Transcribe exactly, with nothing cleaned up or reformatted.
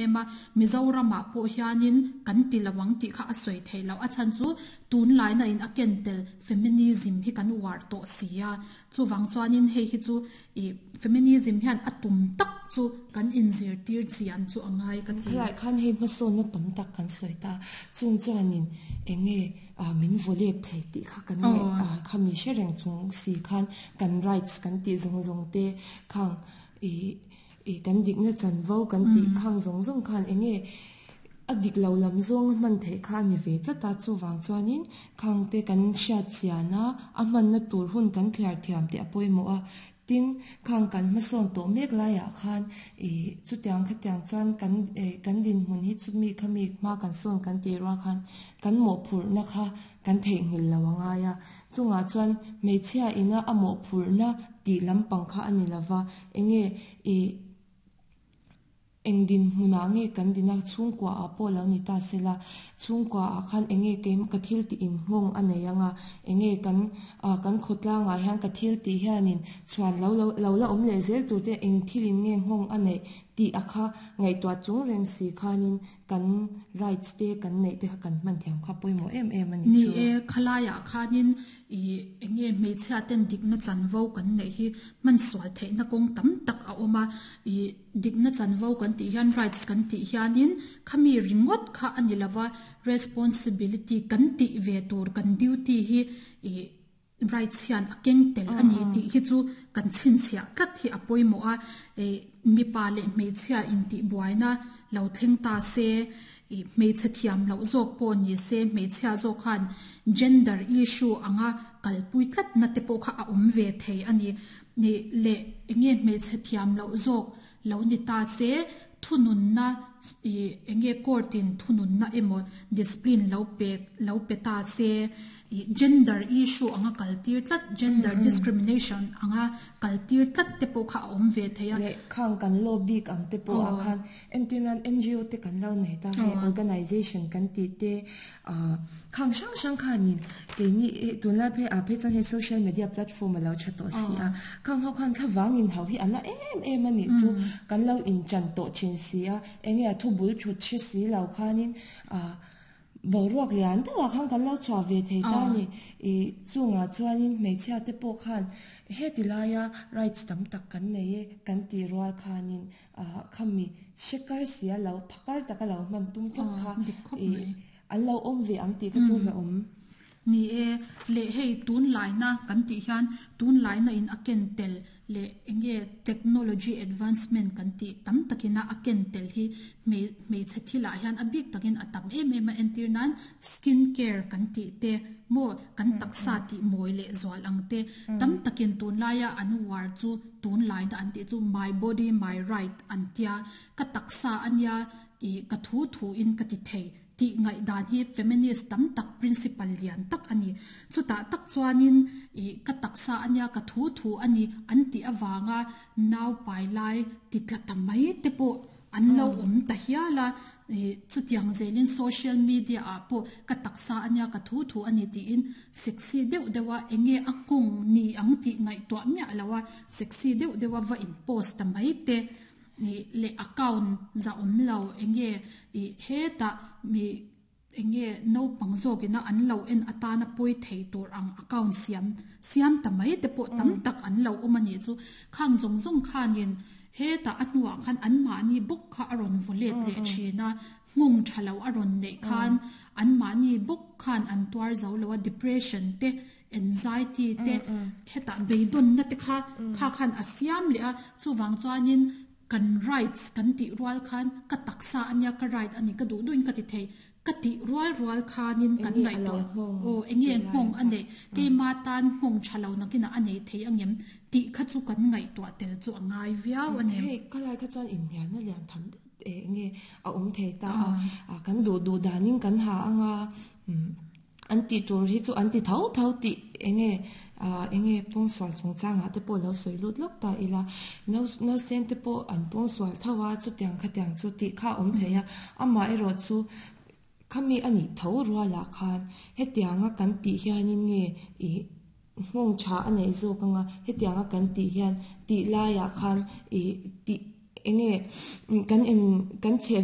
em a Mizoramah pawh hianin kan ti lo ang tih kha a sawi theih loh a chhan chu tunlaina in a ken tel feminism hi kan uar tawh si a chuvang chuanin hei hi chu ih feminism hian a tum tak chu kan inzirtir chian chu a ngai ka ti. Khalai khan hei hmasawnna tam tak kan sawi ta chung chuanin enge min vawlet thei tih kha kan nge khami hre reng chung si khan kan rights kan tih zawng zawng te khang ih i kan dikna chanvo kan tih khang zawng zawng khan enge a dik lo lam zawng a hman theih kha a ni ve tlat a chuwang chuanin khang te kan hriat chian a a hmanna tur hun kan thliar thiam tih a pawimawh a tin khang kan hmasawn tawh mek laiah khan ih chutiang khatiang chuan kan eh kan dinhmun hi chumi khami hma kan sawn kan tih rual khan kan mawhphurhna kha kan theihnghilh lo a ngai a chungah chuan hmeichhia ina a mawhphurhna tih lampang kha a ni lova enge ih eng dinhmunah nge kan dina chhungkua ah pawh lo ni ta sela chhungkua ah khan enge keim ka thil tih in nghawng a nei anga enge kan ah kan khawtlangah hian ka thil tih hianin chhuan lo lo lo la awm leh zel tur te eng thil in nge nghawng a neih tih a kha ngaihtuah chung reng si khanin kan rights te kan neih te kha kan hman thiam kha pawimawh em em a ni Ni chu. e khalaiah khanin ih enge hmeichhia ten dikna chanvo kan neih hi hman sual theihna kawng tam tak a awm a ih dikna chanvo kan tih hian rights kan tih hianin khami ringawt kha a ni lova responsibility kan tih ve tur kan duty hi ih rights hian a keng tel a ni tih hi chu kan chhinchhiah tlat hi a pawimawh a ih mipa leh hmeichhia intih buaina lo thleng ta se ih hmeichhe thiam loh zawk pawh ni se hmeichhia zawk khan gender issue anga kalpui tlat na te pawh kha a awm ve thei a ni ni leh enge hmeichhe thiam loh zawk lo ni ta se thununna ih enge court in thununna emaw discipline lo pek lo pe ta se ih gender issue anga kaltir tlat gender discrimination anga kaltir tlat te pawh kha a awm ve thei a. Leh khang kan law bik ang te pawh ah khan entirnan N G O te kan lo nei ta hei organization kan tih te ah khang hrang hrang khanin keini tunlai phei ah phei chuan hei social media platform a lo tha tawh si a khang ho khan thlavang in hau hi a la em em a nih chu kan lo inchan tawh thin si a enge a thu bul thut hre si lo khanin ah boruak lian deuhah khan kan lo chhuah ve thei ta ni ih chungah chuanin hmeichhia te pawh khan heti laia rights tam tak kan nei e kan tih rual khanin ah khami hrekar si a lo phakar taka lo hman tum tlat kha dik khawp ih mai. An lo awm ve ang tih kha chu la awm. Ni e leh hei tunlaina kan tih hian tunlaina in a ken tel leh enge technology advancement kan tih tam takina a ken tel hi hmei hmeichhe thilah hian a bik takin a tam em em a entir nan skin care kan tih te maw kan taksa tih mawi leh zual ang te tam takin tunlaia an uar chu tunlaina an tih chu my body my right an tia ka taksa ania ih ka thu thu in ka ti thei tih ngaih dan hi feminist tam tak principle lian tak ani chutah tak chuanin ih ka taksa ania ka thu thu ani an tih awanga nau pai lai ti tla ta mai te pawh an lo awm ta hial a ih chutiang zelin social media ah pawh ka taksa ania ka thu thu ani tiin sexy deuh deuha enge a nghawng ni ang tih ngaihtuah miah loa sexy deuh deuha va in post ta mai te ni leh account za awm lo enge ih hetah mi enge naupang zawkina an lo en atana pawi thei tur ang account siam siam ta mai te pawh tam tak an lo awm ani chu khang zawng zawng khanin hetah a hnuah khan an mahni bawk kha a rawn vawlet leh thin a nghawng tha lo a rawn neih khan an mahni bawk khan an tuar zo lo a depression te anxiety te hetah beidawnna te kha kha khan a siam leh a chuwang chuanin kan rights kan tih rual khan ka taksa ania ka right ani ka duh duhin ka ti thei ka tih rual rual khanin kan Enge a ngaihtuah lo nghawng aw enge tih lai nghawng kha. a nei keima tan nghawng tha lo nakina a nei thei angem tih kha chu kan ngaihtuah tel chu a ngai viau ani. Hei khalai kha chuan inhnialna lian tham e nge a awm thei ta a a kan duh duh danin kan ha anga um an tih tur hi chu an ti tho tho tih enge a enge pawngsual chungchangah te pawh lo sawi lut lawk ta ila no no sen te pawh an pawngsual tho a chutiang khatiang chu tih kha a awm thei a amah erawh chu khami ani tho rualah khan hetianga kan tih hianin nge ih nghawng tha a nei zawk anga hetianga kan tih hian tih laiah khan ih tih enge kan in kan chhe